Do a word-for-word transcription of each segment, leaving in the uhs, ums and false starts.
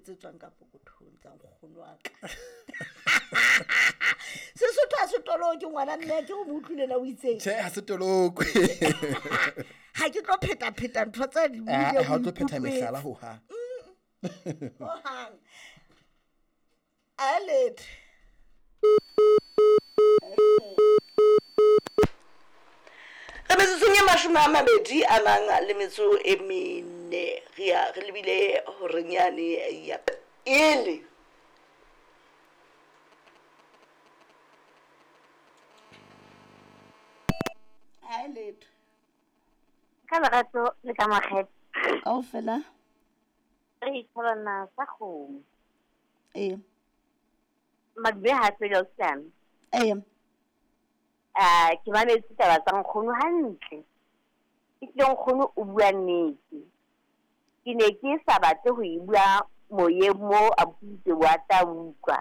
tse tswang ka pokothong tsa nkgono wa ka. Sesotho ha se toloke ngwana mme, ke o mo utlwile na o itseng? Tjhe, ha se tolokwe. Ha ke tlo pheta-pheta ntho tse di Eh, buileng, ha o tlo phetha o mehlala ikutlwetse. hohang. Mm. Hohang. A letho. Re metsotsong e mashome a mabedi a nang le metso e mene, re ya re lebile horeng yane ya pele. Ha e letho. Ka lerato le ka makgethe. Kaofela. Re itholana sa kgomo. Ee. Madume ha fele ausi. Ee. Ah, ke mametse taba tsa nkgono hantle. Ehlile nkgono o bua nnete. Ke ne ke sa batle ho e bua moyeng mo a buitse wa tla utlwa.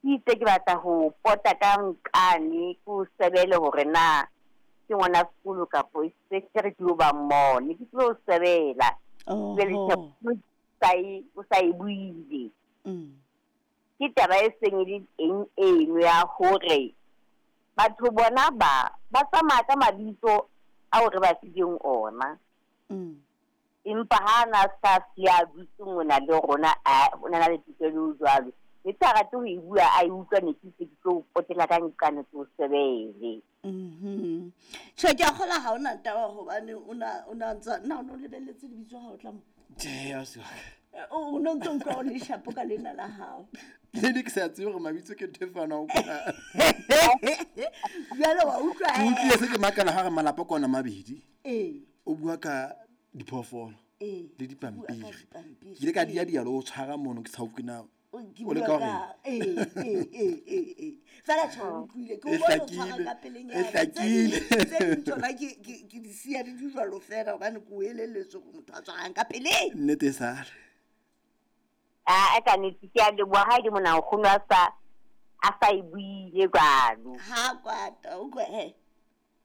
Ke itse ke batla ho pota ka nkane ke o sebele hore na ke ngwana sekolo kapo e se ke re ke yo ba mmone, ke tlo o sebela. Oho. Jwale tjhe, o sa e, o sa e buile. Mm. Ke taba e seng e le teng eno ya hore batho bona ba, ba tsamaya ka mabitso ao re ba fileng ona. Mm. Empa ha na sa siya dutse mona le rona, a, o na le tokelo jwalo. Ne ke sa rate ho e bua, a e utlwa, ne ke se ke tlo potela ka nqane ke o sebele. Mhm. Tjhe, ke a kgolwa ha hona taba hobane o na, o na ntsa, na o no lebelletse lebitso ha o tla mo? Tjhe, ausi wa ka. Eh, o, o no ntso utlwa o le shapo ka lena la hao. Le ne ke sa tsebe hore mabitso ke ntho e fanwang kwa. Jwale wa utlwa, Ke utlwile se ke makala ha re malapa ke ona mabedi. Ee. O bua ka diphoofolo Ee. le dipampiri. O bua ka dipampiri. Ke ile ka dia dia le ho tshwara mono ke sa utlwe na O ke o le bua ka ka- hore ee, ee, ee, ee, ee. Fela tjhe, o utlwile. Ke o E bone o tshwara hlakile, ka pelenyana. e Tse hlakile. ding, tse ding tsona ke, ke, ke di siya di di jwalo fela hobane ke o elelletswe hore motho a tshwarang ka peleng. Nnete e sale. Ah, ka nnete ke a leboha ha e le mona nkgono a sa, a sa e buile jwalo. Ha kwata, o kwe, he.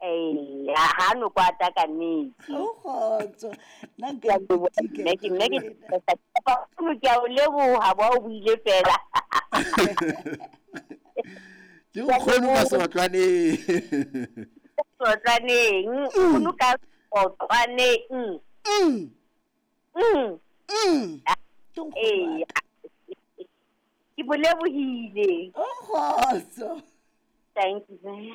Ee, ha, ha no kwata ka nnete. O kgotso. Nna nka Ke a leboha, itika mme ke, mme ke wena. Nkgono, ke a o leboha, bo o buile fela. Ke nkgono ka seotlwaneng. Seotlwaneng, nkgono ka seotlwaneng. Mm. Mm. Mm. Ke nkgono Ee. wa ka. Ke bo lebohile. O kgotso. Thank you.